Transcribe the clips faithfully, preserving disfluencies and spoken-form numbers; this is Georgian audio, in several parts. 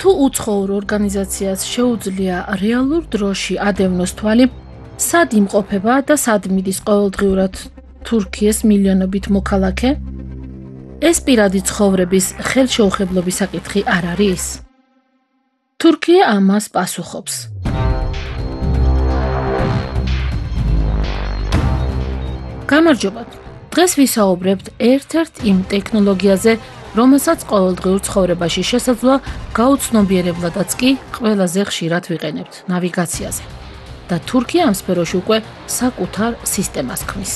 თუ უცხოურ ორგანიზაციას შეუძლია რეალურ დროში ადევნოს თვალი, სად იმყოფება და სად მიდის ყოველდღიურად თურქიის მილიონობით მოქალაქე? ეს პირადი ცხოვრების ხელშეუხებლობის საკითხი არ არის? თურქია ამას პასუხობს. გამარჯობა. დღეს ვისაუბრებთ ერთ-ერთ იმ ტექნოლოგიაზე, რომელსაც ყოველდღიურ ცხოვრებაში შესაძლოა გაუცნობიერებლადაც კი ყველაზე ხშირად ვიყენებთ ნავიგაციაზე. და თურქია ამ სფეროში უკვე საკუთარ სისტემას ქმნის.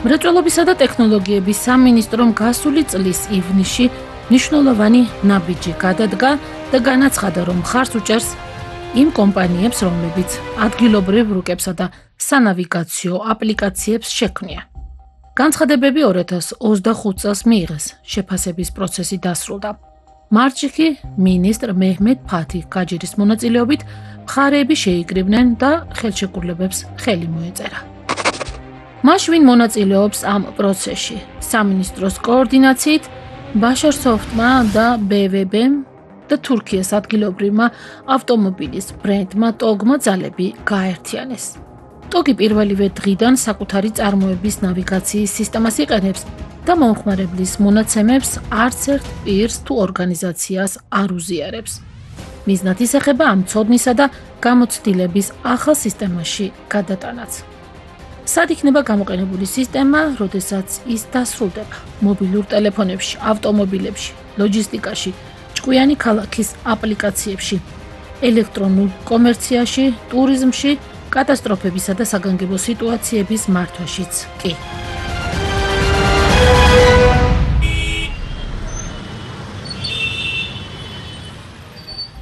მრეწველობისა და ტექნოლოგიების სამინისტრომ გასული წლის ივნისში მნიშვნელოვანი ნაბიჯი გადადგა და განაცხადა, რომ მხარს უჭერს იმ კომპანიებს, რომლებიც ადგილობრივ რუკებსა და სანავიგაციო აპლიკაციებს შექმნიან. განცხადებები ორი ათას ოცდახუთ წელს მიიღეს, შეფასების პროცესი დასრულდა. მარტში კი მინისტრ მეჰმედ ფათი გაჯირის მონაწილეობით მხარეები შეიკრიბნენ და ხელშეკრულებებს ხელი მოეწერა. მას ვინ მონაწილეობს ამ პროცესში? სამინისტროს კოორდინაციით ბაშარსოფტმა და ბე ვე ბემ და თურქიის ადგილობრივმა ავტომობილის ბრენდმა ტოგმა ძალები გააერთიანეს. ტოგი პირველივე დღიდან საკუთარი წარმოების ნავიგაციის სისტემას იყენებს და მომხმარებლის მონაცემებს არც ერთ პირს თუ ორგანიზაციას არ უზიარებს. მიზნად ისახება ამ ცოდნისა და გამოცდილების ახალ სისტემაში გადატანაც. სად იქნება გამოყენებული სისტემა, როდესაც ის დასრულდება? მობილურ ტელეფონებში, ავტომობილებში, ლოჯისტიკაში, ჭკვიანი ქალაქის აპლიკაციებში, ელექტრონულ კომერციაში, ტურიზმში, კატასტროფებისა და საგანგებო სიტუაციების მართვაშიც კი.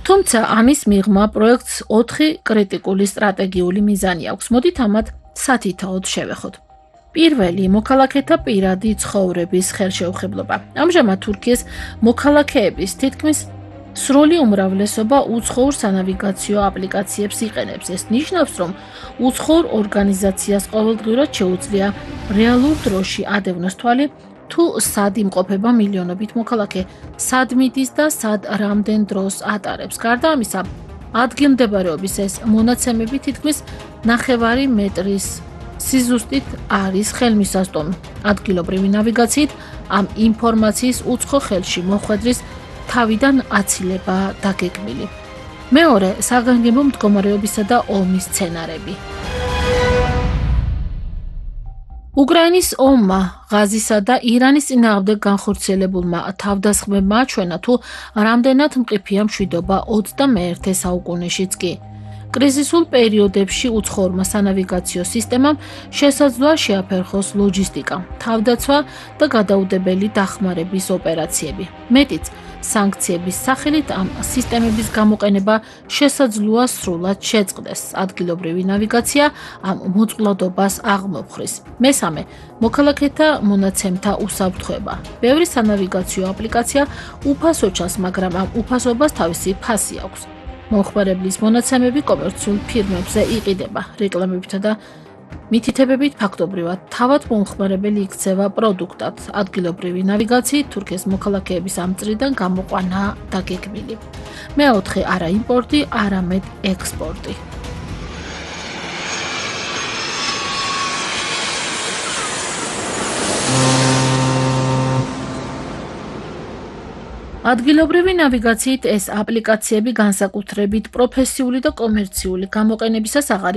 თუმცა ამის მიღმა პროექტს ოთხი კრიტიკული სტრატეგიული მიზანი აქვს. მოდით ამათ სათითაოდ შევეხოთ. პირველი, მოქალაქეთა პირადი ცხოვრების ხელშეუხებლობა. ამჟამად თურქიის მოქალაქეების თითქმის სრული უმრავლესობა უცხოურ სანავიგაციო აპლიკაციებს იყენებს. ეს ნიშნავს, რომ უცხოურ ორგანიზაციას ყოველდღიურად შეუძლია რეალურ დროში ადევნოს თვალი, თუ სად იმყოფება მილიონობით მოქალაქე, სად მიდის და სად რამდენ დროს ატარებს. გარდა ამისა, ადგილმდებარეობის ეს მონაცემები თითქმის ნახევარი მეტრის სიზუსტით არის ხელმისაწვდომი. ადგილობრივი ნავიგაციით ამ ინფორმაციის უცხო ხელში მოხვედრის თავიდან აცილება დაგეგმილი. მეორე, საგანგებო მდგომარეობისა და ომის სცენარები. უკრაინის ომმა, ღაზისა და ირანის წინააღმდეგ განხორციელებულმა თავდასხმებმა აჩვენა, თუ რამდენად მყიფეა მშვიდობა ოცდამეერთე საუკუნეშიც კი. კრიზისულ პერიოდებში უცხოურმა სანავიგაციო სისტემამ შესაძლოა შეაფერხოს ლოჯისტიკა, თავდაცვა და გადაუდებელი დახმარების ოპერაციები. მეტიც, სანქციების სახელით ამ სისტემების გამოყენება შესაძლოა სრულად შეწყდეს. ადგილობრივი ნავიგაცია ამ მოწყვლადობას აღმოფხრის. მესამე, მოქალაქეთა მონაცემთა უსაფრთხოება. ბევრი სანავიგაციო აპლიკაცია უფასო ჩანს, მაგრამ ამ უფასობას თავისი ფასი აქვს. მომხმარებლის მონაცემები კომერციულ ფირმებზე იყიდება, რეკლამებითა და მითითებებით ფაქტობრივად თავად მომხმარებელი იქცევა პროდუქტად. ადგილობრივი ნავიგაციით თურქიის მოქალაქეების ამ წრიდან გამოყვანა დაგეგმილი. მეოთხე, არა იმპორტი, არამედ ექსპორტი. ადგილობრივი ნავიგაციით ეს აპლიკაციები განსაკუთრებით პროფესიული და კომერციული გამოყენებისას აღარ